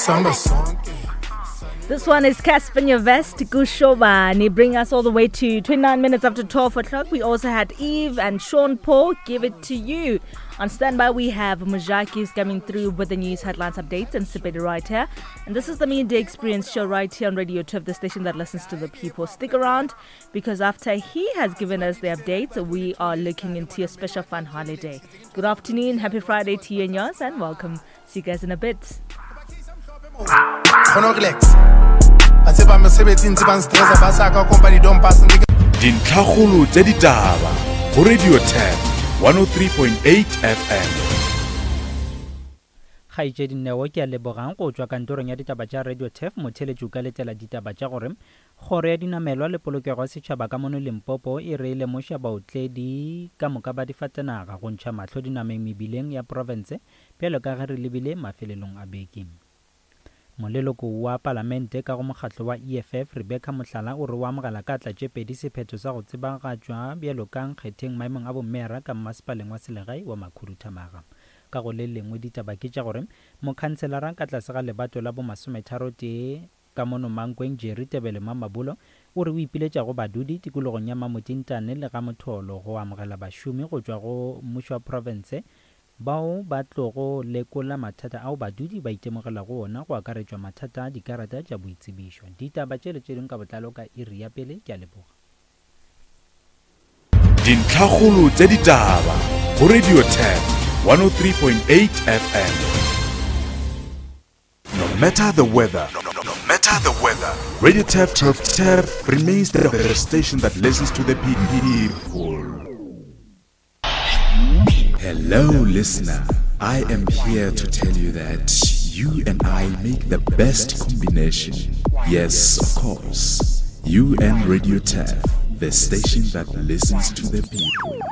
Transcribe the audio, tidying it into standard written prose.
Samba sonke. This one is Cassper Nyovest Kushobani, bring us all the way to 29 minutes after 12 o'clock. We also had Eve and Sean Paul give it to you. On standby, we have Mujaki coming through with the news headlines updates and Sipedi right here. And this is the Midday Experience show right here on Radio 12, the station that listens to the people. Stick around because after he has given us the updates, we are looking into a special fun holiday. Good afternoon, happy Friday to you and yours, and welcome. See you guys in a bit. Kgona ho relax. Ba tseba mosebetsi ntse ba nstressa ba sa ka company don't pass nigga. Dintlhakgolo tša ditaba go Radio Turf 103.8 FM. Kgaetšedi Neo ke a lebogang go tšwa kantorong ya ditaba tša Radio Turf motheeletši o ka letela ditaba tša gore Kgoro ya Dinamelwa le Polokego ya Setšhaba ka mono Limpopo e re e lemoša baotledi ka moka ba difatanaga go ntšha mahlo dinameng mebileng ya profense bjalo ka ge re lebile mafelelong a beke. Moleloko wa Palamente ka go mokgatlo wa EFF, Rebecca Mohlala o re o amogela ka atla tše pedi sephetho sa go tsebagatšwa bjalo ka nkgetheng maemong a bommeara ka mmasepaleng wa selegae wa Makhuduthamaga. Ka go le lengwe ditaba ke tša gore mokhanselara ka tlase ga lebato la bomasometharotee Ka mono Mankweng, Jerry Tebele Mamabolo o re o ipiletša go badudi tikologong ya Mamotintane le Ga-Motholo go amogela bašomi go tšwa go mmušo wa profense bao ba tlogo lekola mathata ao badudi ba itemogelago ona go akaretšwa mathata a dikarata tša boitsebišo. Ditaba tše le tše dingwe ka botlalo ka iri ya pele. Ke a leboga. Dintlhakgolo tša ditaba go Radio Turf 103.8 FM. No matter the weather, no, no, no matter the weather, Radio Turf, Turf, Turf remains the, the station that listens to the people. Hello, listener. I am here to tell you that you and I make the best combination. Yes, of course. You and Radio Turf, the station that listens to the people.